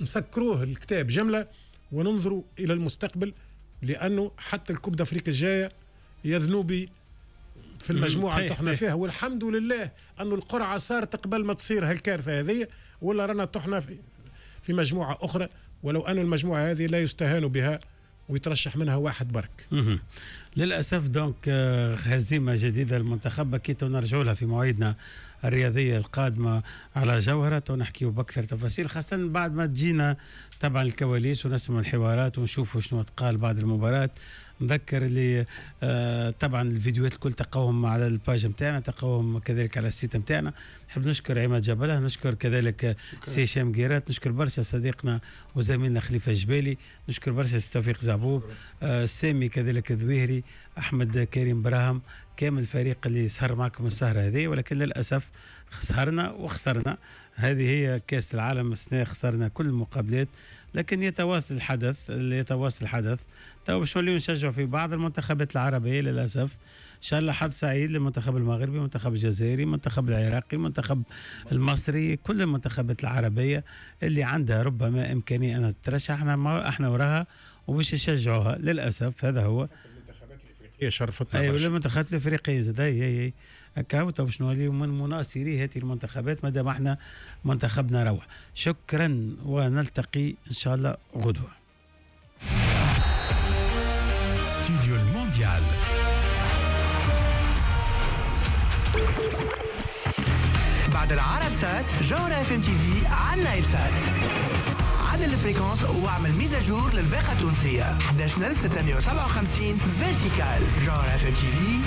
نسكروه الكتاب جملة وننظروا الى المستقبل، لانه حتى ال Coupe d'Afrique الجاية يا ذنوبي في المجموعة اللي طحنا فيها، والحمد لله انه القرعة صارت قبل ما تصير هالكارثه هذه، ولا رانا طحنا في مجموعة اخرى، ولو أن المجموعة هذه لا يستهان بها ويترشح منها واحد برك. للاسف donc هزيمة جديدة للمنتخب، اكيد نرجع لها في مواعيدنا الرياضية القادمة على جوهره ونحكيو باكثر تفاصيل، خاصة بعد ما تجينا طبعا الكواليس ونسمع الحوارات ونشوفوا شنو تقال بعد المباراة. نذكر اللي طبعا الفيديوهات الكل تلقاوهم على ال page نتاعنا، تلقاوهم كذلك على ال site نتاعنا. نحب نشكر عماد جبله، نشكر كذلك سي هشام قيرات، نشكر برشا صديقنا وزميلنا خليفة الجبالي، نشكر برشا سي توفيق زعبوب، سامي كذلك ذويهري، احمد كريم براهم، كامل الفريق اللي سهر معكم السهرة هذه. ولكن للاسف سهرنا وخسرنا، هذه هي كاس العالم السنة، خسرنا كل المقابلات، لكن يتواصل الحدث، يتواصل الحدث. تو باش نوليو نشجعوا في بعض المنتخبات العربية للاسف. ان شاء الله حظ سعيد للمنتخب المغربي، المنتخب الجزائري، المنتخب العراقي، المنتخب المصري، كل المنتخبات العربية اللي عندها ربما امكانية انها تترشح، احنا وراها وباش نشجعوها. للاسف هذا هو. المنتخبات الافريقية شرفتنا. ايوه، المنتخبات الافريقية زاد، اي اي اي هكا باش نوليو من مناصري هذه المنتخبات ما دام احنا منتخبنا روح. شكرا ونلتقي ان شاء الله غدوه. استوديو المونديال. بعد العرب سات، جوهرة اف ام تي في على النايل سات. عدل ال fréquence واعمل mise à jour للباقة التونسية 11657 verticale. جوهرة اف ام تي في.